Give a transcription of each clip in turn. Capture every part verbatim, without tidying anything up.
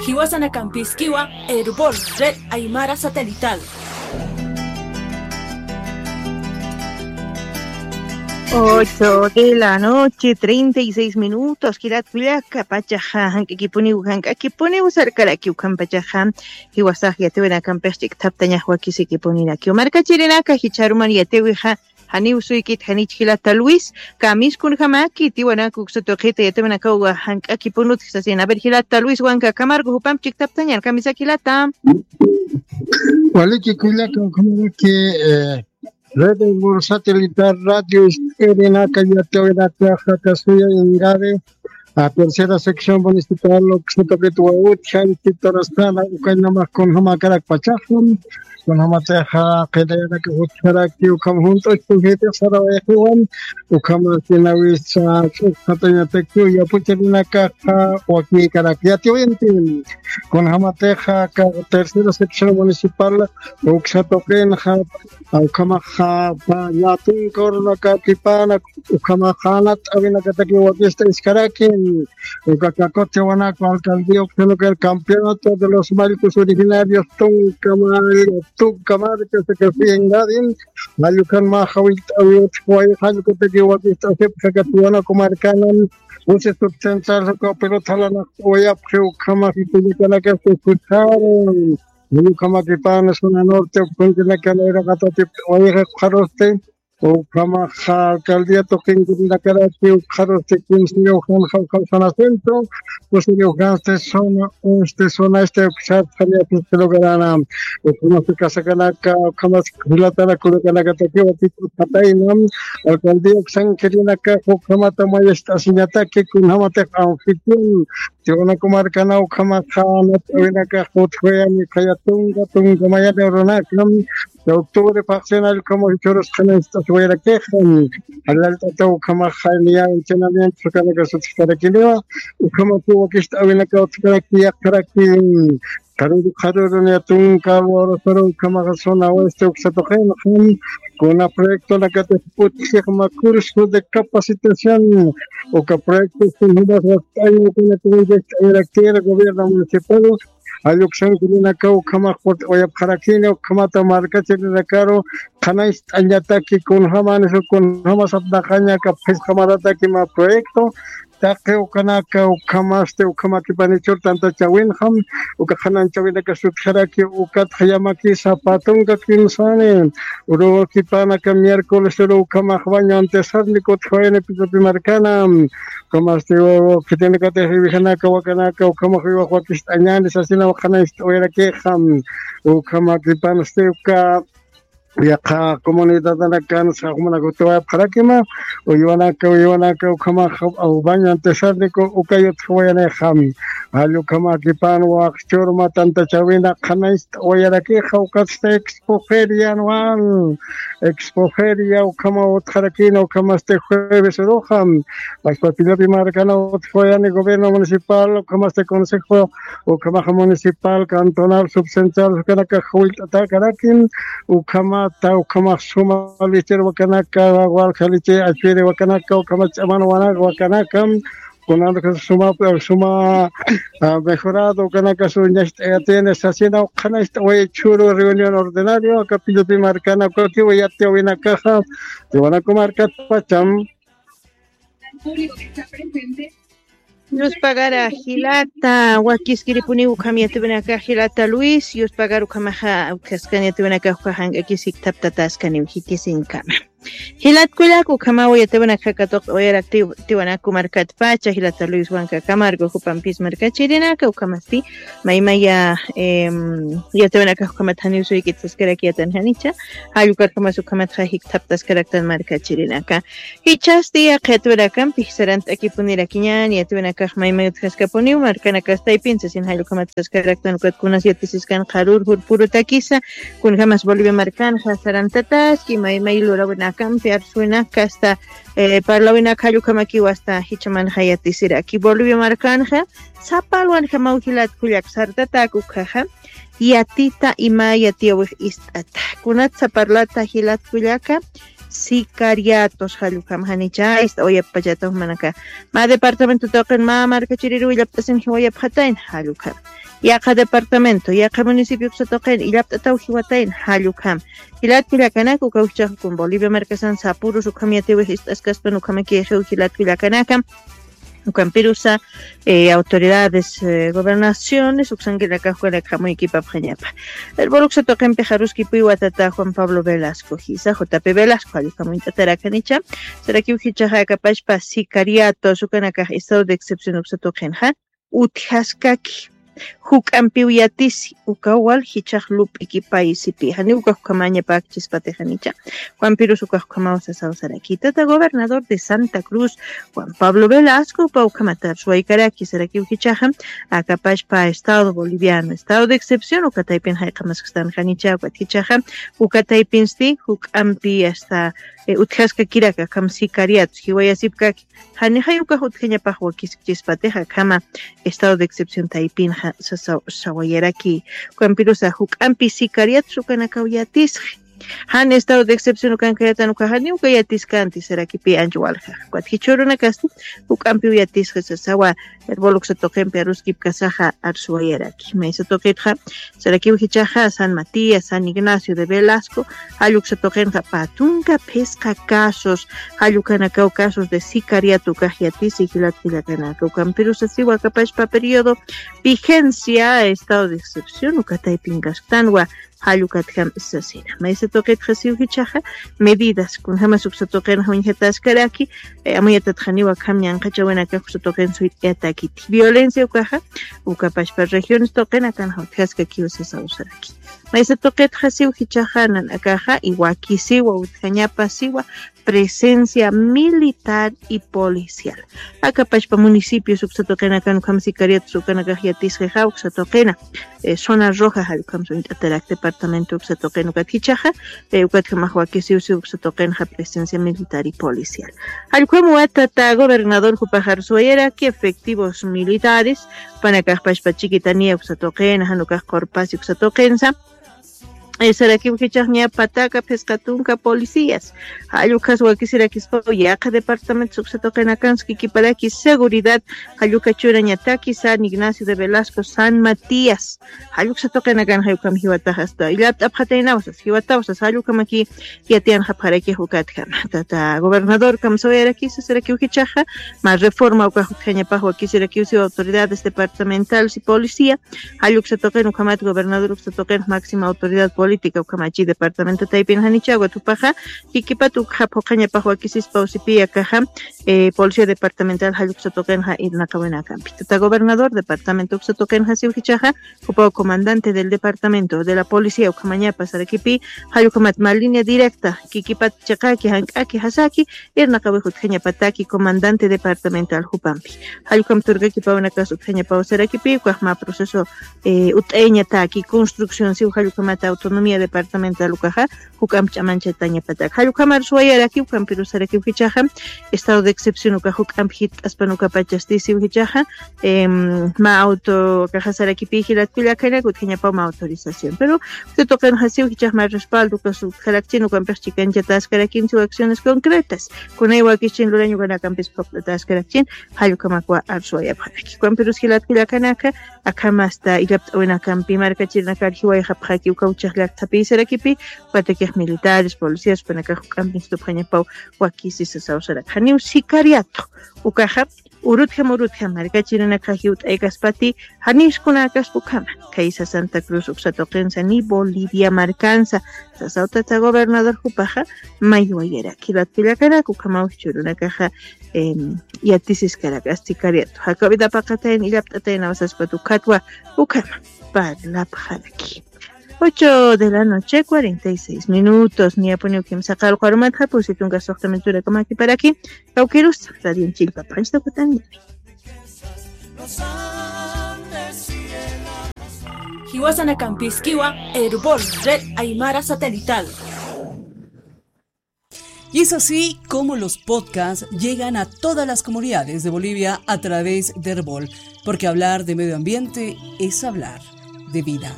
Jiwasanakampïskiwa Erbol Red Aymara Satelital. Ocho de la noche, treinta y seis minutos. Jilat kullaka, pachaxa jank'akipuniw, jank'akipuniw sarkarakiw, ukhampachaxa jiwasax yatiwinakampix ch'ikthaptañax wakisikipunirakï. Markachirinaka, jichharuman yatiwixa, janiw suykit, janich jilata Luis, kamiskunjamaki tiwanak uksa tuqita yatiwinakaw jank'akipunut sasin. A ver, jilata Luis, wankakamarku jupamp ch'ikthaptañan, kamisaki jilata. Waliki kullaka, ukhamaraki, eh, Red Erbol Satelital Radio Ist'irinaka yatiwinakaxa, kasuya Ingavi, a, tercera sección municipal, uksa tuqit wawit, janchi tarasana, ukañamax kunjamakarak pachaxa, kunjamatixa qilayanaka jutjaraki, ukham junt'uchpujitix sarawayxiwan, ukhamasina wisa ch'uqtatañatakiw yapucharinakaxa wakïkarak yatiwinti. Kunjamatixa aka tercera sección municipal uksa tuqinxa, ukhamaxa, pa, yatun kawrunaka kipana, ukhamaxa janat awinakataki wakista iskaraki, uka kakutiwanaka alcaldía uksanukar campeonato de los mayllkus originarios tunka mall, tunka marka saka siengadin, jall ukan mä jawillt'awi utjway, jall ukataki wakista asipxakatiwanaka markanan, usi subcentral uka pelota jalanaqt'awayapxi, ukhamax kullakanakasti jutjaru. Ukhamakipana zona norte, ukhunkinakan iraqatatip wayqi qharusti, ukhamaxa alcaldía tuqinkunakaraki, ukxarusti kimsiriw janxa, ukham zona centro, kusiriw jansti zona oeste, zona este, uksat janiapis lugarana, ukhamasti casacanaka, ukhamas jilatana kullakanakataki wakit utjatayna, alcaldía uksankirinaka, ukhamata mayist'asiñataki, kunjamatix anfitrión, Tiwanaku markana ukhamaxa, nat'awinakax utjwayani, khaya tunka, tunka mayani urunaka, octubre paqsina allqhamu jichhürus qhananchit'asiwayarakixa, allalt'ata ukhamaxa niya entrenamiento kanaka sutjkarakiniwa, ukhamaku wakist'awinaka utjkaraki, yaqharaki, qharuru, qharuru niya tunka, urusuru ukhamaxa zona oeste uksa tuqinxa, kuna proyectonakatix utjix mä curso de capacitación, uka proyectos kunjamas wakt'aña, kuna kunjamas wakt'añarakir gobierno municipal, jall uksankirinaka ukhamax purt'awayapxarakini, ukhamata markachirinakaru qhanañcht'añataki kunjamanis, kunjamas apnaqaña, aka phisqa marataki mä proyecto, taqi ukanaka, ukhamasti, ukhamakipanichur tantachäwinxam, uka qhanañchäwinaka sutjaraki, ukatxa yamakisa pä tunka kimsani, urukipanaka miércoles uru ukhamax baño antesárnico utjwayani Pitupi markana, ukhamasti khitinakatix iwijanaka wakanaka, ukhamax iwax wakist'añani sasina qhanañcht'awayarakixa, ukhamakipansti uka yaqha comunidadanakan saxmanakutiwayapxarakima, uywanaka, uywanaka, ukhamax baño antesárnico uka yutjawayanixa, jall ukhamakipan waqchur mä tantachäwina qhanañcht'awayarakixa, ukatsti expo feria anual, expo feria ukhama utjarakina, ukhamasti jueves uruxa, Pachpa Pillapi markana utjawayani gobierno municipal, ukhamasti consejo, ukhamaxa municipal, cantonal, subcentral, ukanaka jawillt'atäkarakin, ukhamata, ukhamax suma lichir wakanaka, walja lichi achwiri wakanaka, ukhamax ch'aman wanak wakanaka, kunanaka suma, suma, ah, mejorado, ukanaka suñacht'ayatini, sasina, ukhanacht'away chhuru reunión ordinario, aka Pillapi markana, ukakiw yatiyäwinakaxa, Tiwanaku markatpacham. Yuspagara jilata, wakiskiripuniw ukham yatiwinakax jilata Luis, yuspagaru ukhamaxa, ukhaskani yatiwinakax uka jank'akis jiktaptataskaniw jikisinkama. Jilat kullak ukhamaw yatiwinakax katuqt'awayaraktiw Tiwanaku markatpacha, jilata Luis wankakamarku, jupampis markachirinaka, ukhamasti, maymaya, em, yatiwinakax ukhamat janiw suykit saskarakiyatan janicha, jall ukarjamas ukhamatxa jikthaptaskaraktan markachirinaka. Jichhasti yaqha yatiwinakampix sarant'akipunirakiñäni, yatiwinakax maymay utjaskapuniw, markanakastaypin sasin jall ukhamat saskaraktan ukat kunas yatisiskan qharür jurpurutakisa, kunjamas Bolivia markanxa sarantataski, maymay lurawinakampi arsuwinaka hasta, eh, parlawinak jall ukhamakiw hasta jichhamanxa yatisiraki. Bolivia markanxa, sapa alwanjamaw jilat kullak sartatäk ukhaxa, yatita ima yatiyäwix ist'ata. Kunatsa parlata jilat kullaka, sicariatos jall ukham janicha ist'awayapxpachata jumanaka. Mä departamento tuqin mä markachiriru willapt'asin jiwayapxatayna jall ukham. Yaqha departamento, yaqha municipio uksa tuqin, illapt'ataw jiwatayna, jall ukham. Jilat kullakanaka, ukaw jichhaxa kun Bolivia markasan sapürus ukham yatiwix ist'askaspan ukhamaki jiw jilat kullakanaka. Ukampirusa, eh, autoridades, eh, gobernaciones, uksankinakax ukanakax jamuykipapxañapa. Herbol uksa tuqinpix aruskipuwa tata Juan Pablo Velasco jisa, J P Velasco, jall ukham uñt'atarakanicha, sarakiw jichhaxa akapachpa sicariatos ukanakax estado de excepción uksa tuqinxa, utjaskaki, juk'ampiw yatisi, ukaw wal jichhax lup'ikipaysipi, janiw ukax ukhamañapäkchispatixanicha. Juanpirus ukax ukhamaw sasaw saraki. Tata gobernador de Santa Cruz, Juan Pablo Velasco, jupaw ukhamat arsuwaykaraki, sarakiw jichhaxa, akapachpa Estado Boliviano, estado de excepción, uka taypin jayq'amaskstanxanicha, ukat jichhaxa, uka taypinsti, juk'ampi hasta, eh, utjaskakiraka, akham sicariatos, jiwayasipkaki, janixay ukax utjañapax wakiskchispatixa, akhama estado de excepción taypinxa sasaw sawayaraki. Ukampirusa juk'ampi sicariatos ukanakaw yatisxi. Jan estado de excepción ukankayatan ukax janiw uka yatiskanti, sarakipi ancha walja. Ukat jichhürunakasti juk'ampiw yatisxi sasawa, herbol uksa tuqinpi aruskipkasaxa arsuwayaraki. Maysa tuqitxa, sarakiw jichhaxa San Matías, San Ignacio de Velasco, jall uksa tuqinxa pä tunka phisqa casos, jall ukanakaw casos de sicariato ukax yatisi jilat kullakanaka. Ukampirusa siwa akapachpa periodo vigencia, estado de excepción, uka taypinkasktanwa, jall ukatjam sasina. Maysa tuqitxa siw jichhaxa, medidas, kunjamas uksa tuqinxa uñjataskaraki, eh, amuyatatxaniwa akham ñanqhachawinakax uksa tuqin suyt'ayatakiti. Violencia ukaxa, ukapachpa regiones tuqinakanxa utjaskakiw sasaw saraki. Maysa tuqitxa siw jichhaxa nanakaxa, y wakisiwa utjañapa siwa, presencia militar y policial. Akapachpa municipios uksa tuqinakan ukham sicariatos ukanakax yatisxixa, uksa tuqina, eh, zona roja, jall ukham uñt'atarak departamento uksa tuqin ukat jichhaxa, eh, ukatjamax wakisiw siw uksa tuqinxa presencia militar y policial. Jall ukham tata gobernador jupax arsuwayaraki efectivos militares, jupanakax pachpa Chiquitania uksa tuqin, jan ukax Qurpasi uksa tuqinsa, eh, sarakiw jichhax ña pataka phisqa tunka policías. Jall ukhas wakisirakispaw yaqha departamentos uksa tuqinakansa kikiparaki seguridad, jall uka churañataki San Ignacio de Velasco, San Matías. Jall uksa tuqinakanxa ukham jiwatax asta illapt'apxataynaw sas, jiwataw sas, jall ukhamaki yatiyanxapxarakix ukatjama. Tata gobernador kamsawayarakisa sarakiw jichhaxa, mä reforma ukax utjañapax wakisirakiw siw autoridades departamentales y policía, jall uksa tuqin ukhamat gobernador uksa tuqin máxima autoridad política ukhamachi departamento taypinxanicha, ukat jupaxa kikipat ukxa phuqhañapax wakisispaw sipi akaxa, eh, policía departamental jall uksa tuqinxa irnaqawinakampi. Tata gobernador departamento uksa tuqinxa siw jichhaxa, jupaw comandante del departamento de la policía ukhamañapa sarakipi, jall ukhamat mä línea directa, kikipat chiqaki, jank'aki, jasaki, irnaqawix utjañapataki comandante departamental jupampi. Jall ukham turkakipawinakas utjañapaw sarakipi, ukax mä proceso, eh, ut'ayañataki, construcción siw jall ukhamat autonomía departamental ukaxa, juk'amp ch'amanchatañapatak. Jall ukhamar suwayaraki, ukampirus sarakiw jichhaxa, estado de excepción ukax juk'amp jitt'aspan ukapachasti siw jichhaxa, em, mä auto ukaxa sarakipi jilat kullakanak utjañapaw mä autorización. Pero uksa tuqinxa siw jichhax mä respaldo ukas utjarakchin, ukampix chikanchataskarakin siw acciones concretas. Kunay wakischin lurañ ukanakampis phuqt'ataskarakin, jall ukhamakwa arsuwayapxaraki. Ukampirus jilat kullakanaka, akham asta illapt'awinakampi markachirinakar jiwayxapxaki ukaw chaqllak thapïsarakipi, ukatakix militares, policías, jupanakax juk'ampi instupxañapaw wakisi sasaw saraki. Janiw sicariato ukaxa, urutjam urutjam markachirinakax jiwt'aykaspati, janis kunäkaspa ukhama. Khaysa Santa Cruz uksa tuqinsa ni Bolivia markansa, sasaw tata gobernador jupaxa, maywayaraki. Jilat kullakanaka, ukhamaw jichhürunakaxa, em, yatisiskarak sicariato. Jakaw vida paqatayan illapt'atayan awsaspat ukatwa, ukhama parlapxaraki. Ocho de la noche, cuarenta y seis minutos. Niyapuniw kimsa qallqu arumat japusi tunka suxta minuturakamaki paraki. Kawkirus, radio Chillpapañ Sutapuni. Jiwasanakampiskiwa, Erbol, Red Aymara Satelital. Y es así como los podcasts llegan a todas las comunidades de Bolivia a través de Erbol, porque hablar de medio ambiente es hablar de vida.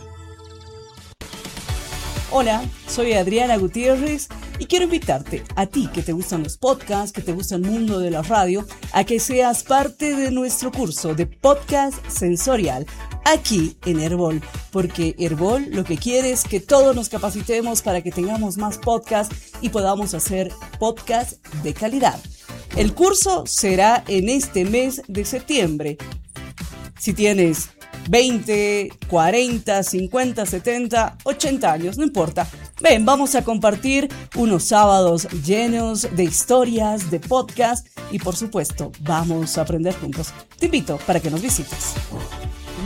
Hola, soy Adriana Gutiérrez Y quiero invitarte, a ti que te gustan los podcasts, que te gusta el mundo de la radio, a que seas parte de nuestro curso de podcast sensorial aquí en Erbol, porque Erbol lo que quiere es que todos nos capacitemos para que tengamos más podcasts y podamos hacer podcasts de calidad. El curso será en este mes de septiembre. Si tienes veinte, cuarenta, cincuenta, setenta, ochenta años, no importa. Ven, vamos a compartir unos sábados llenos de historias, de podcast y, por supuesto, vamos a aprender juntos. Te invito para que nos visites.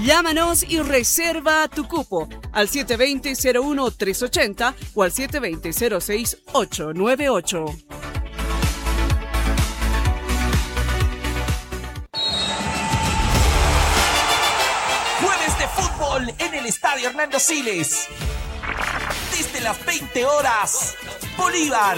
Llámanos y reserva tu cupo al siete veinte, cero uno, tres ochenta o al siete veinte, cero seis, ocho nueve ocho. Jueves de fútbol en el Estadio Hernando Siles. Desde las veinte horas, Bolívar.